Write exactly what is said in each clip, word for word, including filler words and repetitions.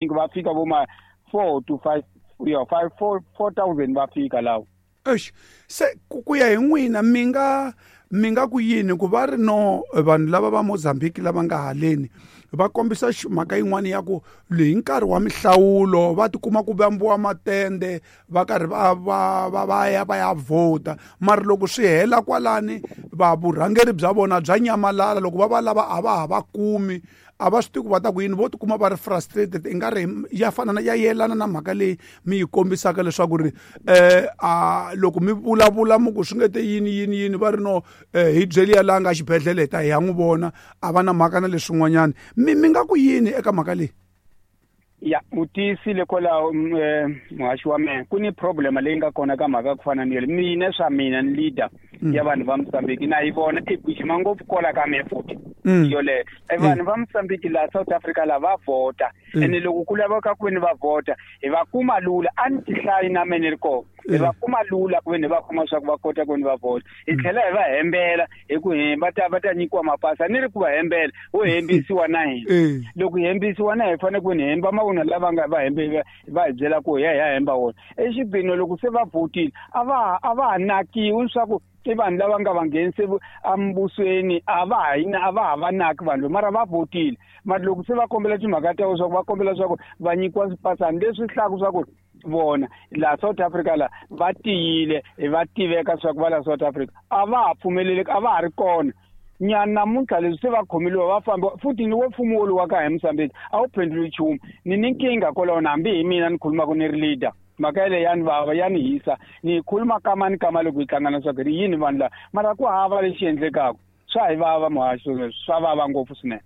Va fika vo ma four to five, ya five, four, four thousand va fika lawo. Eish, se ku ku ya hi n'wina, mi nga mi nga ku yini ku va ri no vanhu lava va Mozambique lava nga haleni va kombisa mhaka yin'wani ya ku hi nkarhi wa mihlawulo va tikuma ku vambiwa matende, va karhi va va va va ya va ya vhota, mara loko swi hela kwalani va vurhangeri bya vona bya nyamalala, loko va va lava a va ha va kumi, a va swi tivi ku va ta ku yini, vo tikuma va ri frustrated. I nga ri ya fana na ya yelana na mhaka leyi mi yi kombisaka leswaku ri eh a loko mi vulavula mi ku swi nge te yini yini yini, va ri no eh, hi byeli ya laha nga xibedhlele hi ta hi ya n'wi vona, a va na mhaka na leswin'wanyana. Mi mi nga ku yini eka mhaka leyi? Ya, u tiyisile kwalaho, eh, muhaxi wa mehe. Ku ni problem leyi nga kona ka mhaka ku fana ni yele. Mina swa mina ni leader ya vanhu va Mozambique, na yi vona i gijima ngopfu kola ka mehe futhi yoleyo. Vanhu va Mozambique laha South Africa la va vhota, ene loko ku laveka ku veni va vhota hi va kuma lula, a ni tihlayi na me ni ri kona, hi va kuma lula ku veni va kuma swa ku va kota ku veni va vhota. Hi tlhela hi va hembela hi ku hi va ta va ta nyikiwa mapasi, ni ri ku va hembela wo hembisiwa na hina. Loko hi hembisiwa na hi fanele ku veni hemba mavunwa lava nga va hembe va hi byela ku hi ya hi ya hemba wona. Exibini loko se va vhotile a va a va ha nakiwi swa ku i vanhu lava nga va nghenise embusweni, a va ha a va ha va naki vanhu, mara va vhotile. Mara loko se va kombela timhaka ta swa ku va kombela swa ku va nyikiwa swipasani leswi hlaku swa ku vona laha South Africa la va tiyile, va tiveka swa ku va la South Africa, a va ha pfumeleleki, a va ha ri kona nyana namuntlha. Leswi se va khomeliwa va famba futhi ni wo mfumo woluwa ka hi Mozambique a wu phenduli nchumu. Ni ni nkingha kwalaho, na hambi hi mina ni khulumaka ni ri leader, mhaka yeleyo ya ni vava, ya ni hisa, ni yi khuluma kama ni kama loko hi hlangana swa ku ri yini vanhu lava, mara ku hava lexi endlekaka. Swa hi vava muhaxi, swa vava ngopfu swinene.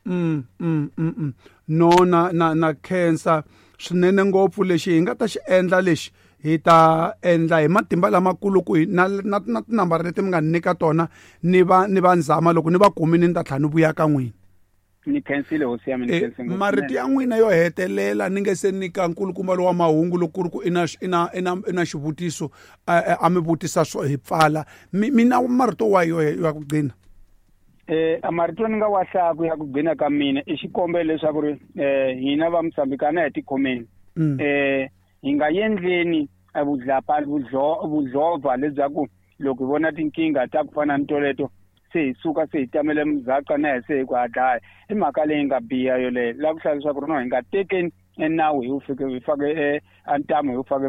mm mm mm no na na na khensa swinene ngopfu. Lexi hi nga ta xi endla, lexi hi ta endla hi matimba lamakulu ku na na na tinambara leti mi nga ni nyika tona, ni va ni va nzama, loko ni va kumini ni ta tlhela ni vuya ka n'wina. Ni khensile hosi ya mina, ni khense ngopfu. Marito ya n'wina yo hetelela ni nge se nyika nkulukumba lowa mahungu, loko ku ri ku i na i na i na i na xivutiso a mi vutisa swo hi pfala, mi mi na marito wa yo ya ku gcina? Eh marito ni nga wa hlaya ya ku gcina ka mina i xikombelo leswaku ri eh hina va Mozambique a na hi tikhomeni, eh hi nga endleni vudlapa vudlova lebyaku loko hi vona tinkingha ta ku fana ni toleto se hi suka se hi tamele muzaka na hi se hi ku ha dlaya. I mhaka leyi nga biha yoleyo. La ku hlaya leswaku ri no hi nga tekeni enawu hi wu fike hi fake ntamu hi wu fake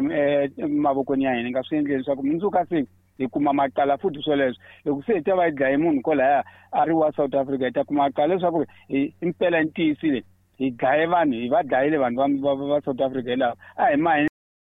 emavokweni ya hina, hi nga swi endleni leswaku mundzuku ka siku hi kuma macala futhi. Swoleswo loko se hi ta va hi dlaye munhu kwalaya a ri wa South Africa, hi ta kuma macala leswaku hi impela ntiyisile hi dlaye vanhu, hi va dlayile vanhu va va va South Africa hi lava a hi ma